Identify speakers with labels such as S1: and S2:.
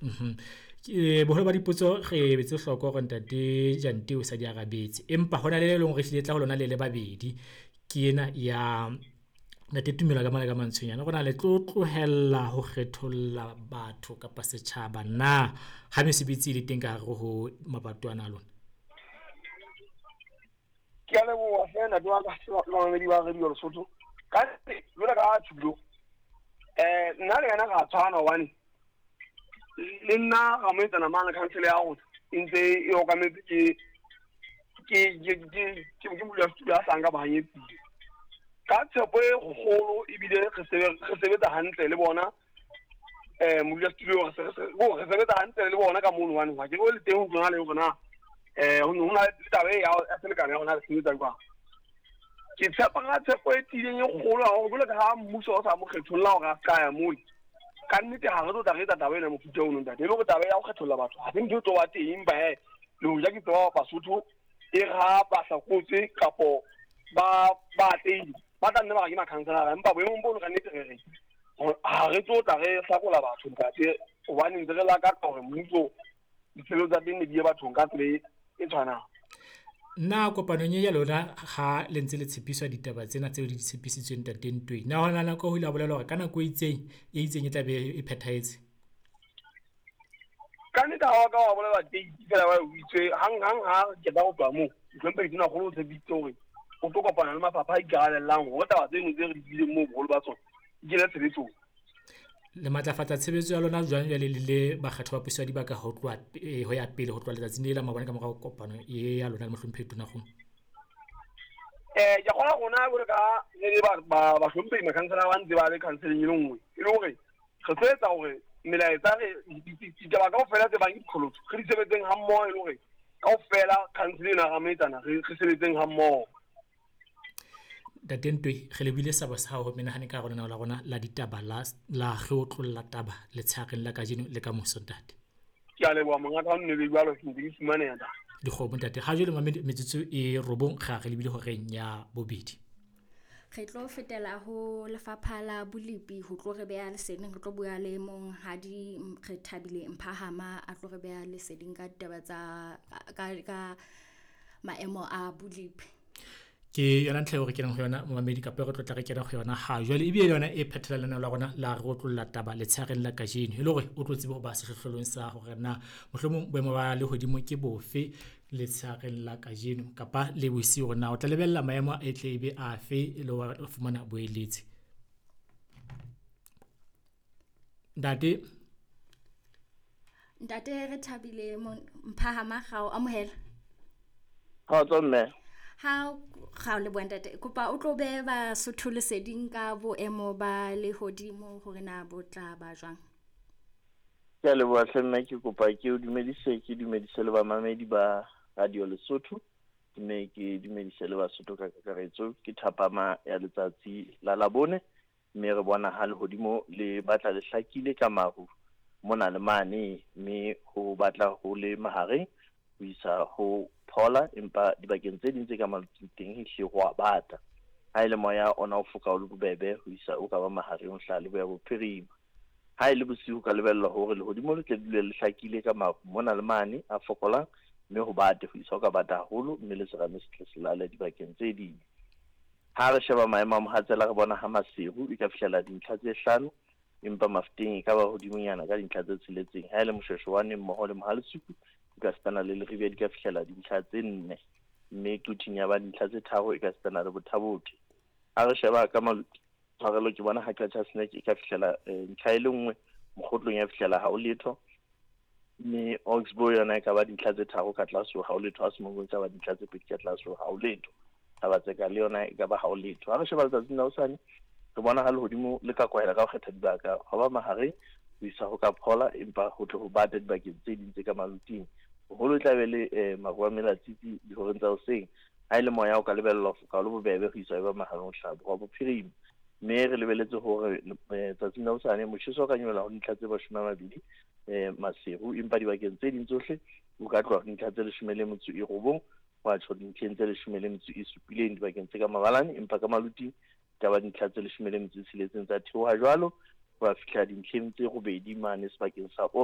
S1: Boholo ba dipotso re betse hloko hore ntate Jante o sa di arabetse, empa hona le le leng hore ehlile tla ho lona le le babedi. Ke ena ya ntate Tumelo ka mona ka Mantsonyane, hore na le tlo tlohella ho kgetholla batho kapa setjhaba na ha mesebetsi e le teng ka hare ho mabato ana a lona?
S2: Ke a leboha hle ntate wa ka le bamamedi ba Radio Lesotho. Ka nnete jwalo ka Thulo, nna le yena ra tshwana hobane le nna ra mo etsana mane council ya rona e ntse e okametse ke ke ke ke ke ke modulasetulo a sang ka bohanyetsing. Ka tshepo e kgolo ebile re sebetsa hantle le bona modulasetulo re sebetsa hantle le bona ka mono hobane ha ke re le teng ho tsona le hore na ho na le taba e ya selekane ya rona re sebetsa jwang. Ke tshepa ka tshepo e tiileng e kgolo haholo jwalo ka ha mmuso o sa mo kgetholla hore a ska ya mole. Ka nnete ha re tlo tla re etsa taba ena mofuta ono ntate, e le hore taba ya ho kgetholla batho ha se ntho e tlo ba teng, empa hee le hoja ke tseba Basotho e re ha ba hlakotse kapo ba ba atlehile ba tla nne ba re ke makhanselara, empa boemong bono ka nnete re re ha re tlo tla re hlakola batho ntate, hobane ntse re lakatsa hore mmuso ditshebeletso tsa teng ne di ye bathong ka tsela e tshwanang.
S1: Na kopanong e ya lona ha le ntse le tshepiswa ditaba tsena tseo le di tshepisitsweng ntate Ntweng, na hona nako ho ile ha bolelwa hore ka nako e itseng e itseng e tla be e phethahetse?
S2: Ka nnete ha wa ka wa bolelwa date fela ba o itswe hang hang ha re qeta ho tloha moo, mohlomphehi Tonakgolo o tshepisitse hore o tlo kopana le mafapha a ikarabellang hore taba tseno tse re di buileng moo boholo ba tsona di kene tshebetsong.
S1: Le matlafatsa tshebetso ya lona jwang jwale le le bakgatho ba puso ya dibaka ho tloha ho ya pele ho tloha letsatsing le la maobane ka morao kopano e ya lona le mohlomphehi Tonakgolo?
S2: Ke kgolwa rona jwalo ka re le bahlomphehi makhansela ba ntse ba le councileng e le nngwe, e le hore re tlo etsa hore melaetsa re ditaba kaofela tse bang ke diqholotso re di sebetseng ha mmoho, e le hore kaofela council ena ra moetsana re sebetseng ha mmoho.
S1: Ntate Ntwe, re lebohile sabo sa hao ho menahane ka hare ho lenaneo la rona la ditaba la la re otlolla taba letshehareng la kajeno le ka moso ntate.
S2: Ke a leboha mongaka, ha nne be jwalo ke ntse ke fumaneha ntate.
S1: Dikgomo ntate, ha jwale mamedi metsotso e robong ra re lebile horeng ya bobedi.
S3: Re tlo fetela ho lefapha la bolepi ho tlo re beha leseding, re tlo bua le monghadi re Thabile Mphahama a tlo re beha leseding ka ditaba tsa ka maemo a bolepi.
S1: Ke yona ntlha eo re kenang ho yona momamedi, kapa re tlo tla re kena ho yona ha jwale, ebile le yona e phethela lenaneo la rona la re otlolla taba letshehareng la kajeno, e le hore o tlo tsebe ho ba sehlohlolong sa hore na mohlomong boemo ba lehodimo ke bofe letshehareng la kajeno kapa le bosiu, hore na o tla lebella maemo a tle e be afe e le hore o fumana boeletsi. Ntate
S3: Ntate re Thabile Mphahama, ga o amohela.
S4: Kgotso mme.
S3: Ha ga o leboha ntate, kopa o tlo behe Basotho leseding ka boemo ba lehodimo hore na bo tla ba jwang.
S4: Ke a leboha hle mme, ke kopa ke o dumedise, ke dumedise le bamamedi ba Radio Lesotho, mme ke dumedise le Basotho ka kakaretso. Ke thapama ya letsatsi la Labone, mme re bona ha lehodimo le batla le hlakile ka maru mona le mane, mme ho batla ho le mahareng ho isa ho phola, empa dibakeng tse ding tse ka maloting teng ehlile ho a bata. Ha e le moya ona o foka o le bobebe ho isa o ka ba mahareng ho hlaha leboya bophirima. Ha e le bosiu ho ka lebellwa hore lehodimo le tle dule le hlakile ka maru mona le mane a fokolang, mme ho bate ho isa ho ka bata haholo, mme le serame se tle se lale dibakeng tse ding. Ha re sheba maemo a mohatsela re bona ha Maseru e ka fihlela dintlha tse 5, empa Mafeteng e ka ba hodimonyana ka dintlha tse 6. Ha e le Moshweshwane mmoho le Mohalesuku e ka sitana le Leribe di ka fihlela dintlha tse 4, mme Quthing ya ba dintlha tse 3 e ka sitana le Bothabothe. Ha re sheba ka tshwarelo ke bona ha Qacha's Nek e ka fihlela ntlha e le nngwe, Mokgotlong ya fihlela ha ho letho, mme Oxbow yona e ka ba dintlha tse 3 ka tlase ha ho letho, ha Semongong e ka ba dintlha tse 2 ka tlase ha ho letho, Thabatseka le yona e ka ba ha ho letho. Ha re sheba letsatsing la hosane re bona ha lehodimo le ka kwahela ka ho kgetha dibaka hwa ba mahareng ho isa ho ka phola, empa ho tle ho bata dibakeng tse ding tse ka maluting. Boholo e tla be le maru a melatsitsi dihoreng tsa hoseng. Ha e le moya o ka lebellwa ho foka o le bobebe ho isa e ba mahareng ho hlaha borwa bophirima. Mme re lebeletse hore tsatsing la hosane motjheso o ka nyolla ho dintlha tse 20 Maseru, empa dibakeng tse ding tsohle o ka tloha ho dintlha tse 19 wa tjho dintlheng tse 17 dibakeng tse ka mabalane, empa ka maluting ka ba dintlha tse 16 tsa theoha jwalo ho ya fihla dintlheng tse 8 mane sebakeng sa.